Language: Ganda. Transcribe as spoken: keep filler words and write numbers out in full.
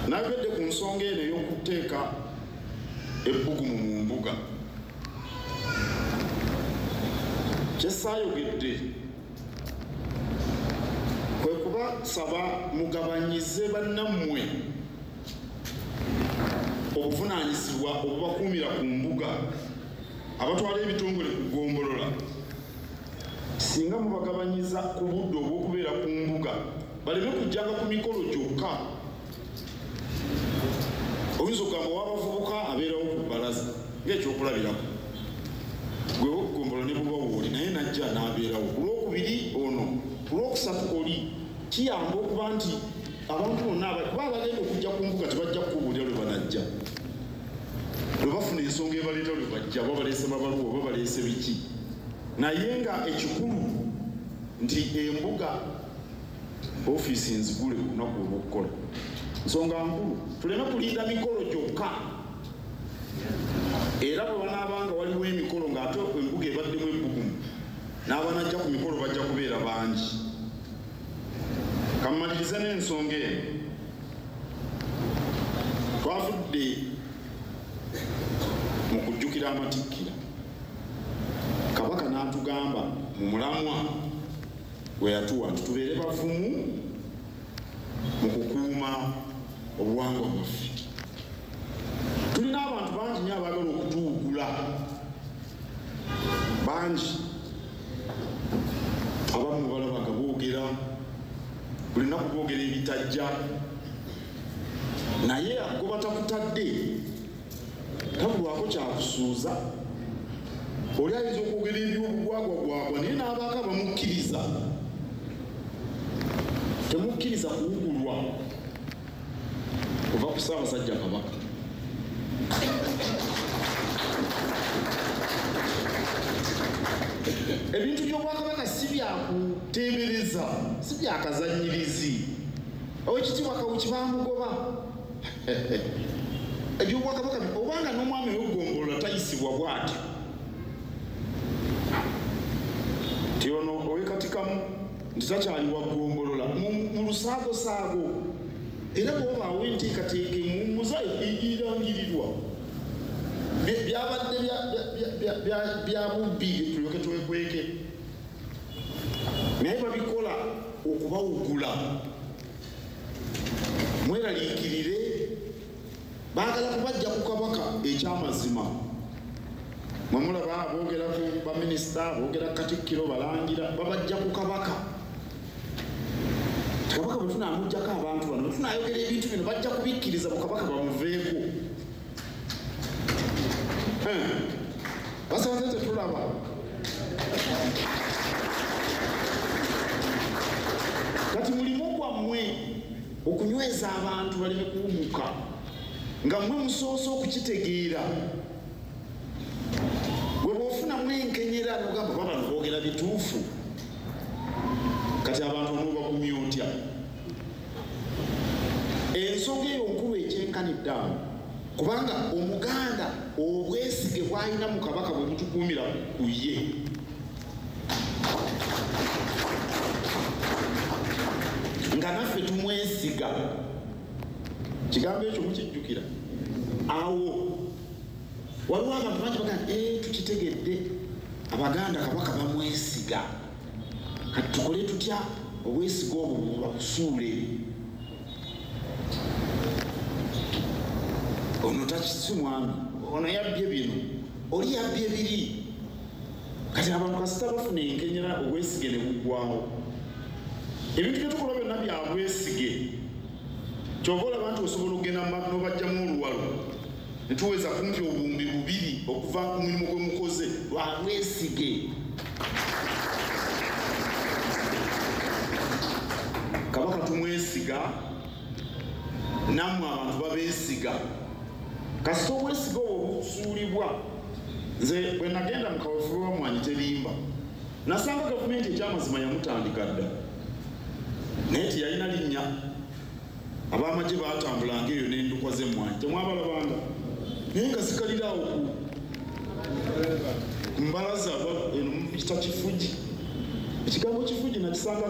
Nayogedde ku nsonga eno ey'okuteeka ebbugumu mu mbuga. Kye saayogedde kwe kubasaba mugabanyize bannammwe obuvunaanyizibwa obubakuumira ku mbuga, abatwala ebitongole ku ggombolola. Singa mubagabanyiza ku budde obw'okubeera ku mbuga, baleme kujjanga ku mikolo gyokka. Oyinza okugamba ow'abavubuka abeerawo ku bbalaza ng'ekyokulabirako, gwe w'okuggombolola ne buba wooli naye najja n'abeerawo ku lwokubiri ono, ku lwokusatu oli. Kiyamba okuba nti abantu bonna kuba abagenda okujja ku mbuga tebajja kukubuulira lwe banajja, lwe bafuna ensonga ebaleeta lwe bajja, oba baleese mabaluwa oba baleese biki. Naye nga ekikulu nti embuga ofiisi nzigule ku lunaku olw'okukola. Nsonga nkulu, tuleme kulinda mikolo gyokka. Era bwe banaabanga waliwo emikolo ng'ate embuga ebaddemu ebbugumu, n'abanajja ku mikolo bajja kubeera bangi. Kammalirize n'ensonga eno. Twavudde mu kujjukira amatikkira, Kabaka n'atugamba mu mulamwa we yatuwa nti tubeere bavumu mu kukuuma obuwangwa bwaffe. Tulina abantu bangi nnyo abaagala okutuwugula, bangi. Abamu balaba nga boogera buli lunaku, boogera ebitajja, naye agoba takutadde, tabulwako kyakusuuza. Oli ayinza okwogera ebyobugwagwagwagwa naye n'abaako abamukkiriza. Temukkiriza kuwugulwa kuva ku Ssaabasajja Kabaka. Ebintu by'Obwakabaka si byakuteebereza, si byakazannyirizi. Owekitiibwa Kawuki baamugoba. Ebyobwakabaka obanga n'omwami w'eggombolola tayisibwa bw'atyo, nti ono ow'ekatikamu nti takyali wa ggombolola mu lusaagosaago. Era bw'obaawo enteekateeka emuwummuza erangirirwa, byabadde bya bubbi tulyoke twekweke, naye babikola okubawugula. Mweraliikirire, baagala kubajja ku Kabaka ekyamazima. Mwe mulaba boogera ku baminisita, boogera Katikkiro, balangira, babajja ku Kabaka. Kabaka bwe tunaamuggyako abantu bano, bwe tunaayogera ebintu bino, bajja kubikkiriza bu Kabaka bamuveeko. Basanze tetulaba. Kati mulimu gwammwe okunyweza abantu baleme kuwumuka, nga mmwe musoose okukitegeera. Bwe bw'ofunamu enkenyera n'ogamba oba bano boogera bituufu, kati abantu onoobagumya otya? Ensonga eyo nkulu ekyenkanidde awo, kubanga Omuganda obwesige bw'alina mu Kabaka bwe butukuumira ku ye. Nga naffe tumwesiga. Kigambo ekyo mukijjukira. Awo waliwo abantu bangi bagamba ee tukitegedde, Abaganda Kabaka bamwesiga, kati tukole tutya obwesiga obwo babusuule? Ono takisi mwami, ono yabbye bino, oli yabbye biri. Kati abantu kasita bafuna enkenyera, obwesige ne buggwawo. Ebintu bye tukola byonna bya bwesige. Kyova olaba nti osobola okugenda n'obajjamu oluwalo ne tuweza kumpi obuwumbi bubiri okuva ku mulimu gwe mukoze lwa bwesige. Kabaka tumwesiga, nammwe abantu babeesiga. Kasita obwesige obwo busuulibwa. Nze bwe nagenda mu kaweefube wa Mmwanyi Terimba, nasanga gavumenti ekyamazima yamutandika dda, naye teyalina linnya. Ab'amagye baatambulanga eyo n'endukwa z'emmwanyi, temwabalabanga, naye nga zikaliraawo ku mbalaza eno mukita kifugi. Ekigambo kifugi nakisanga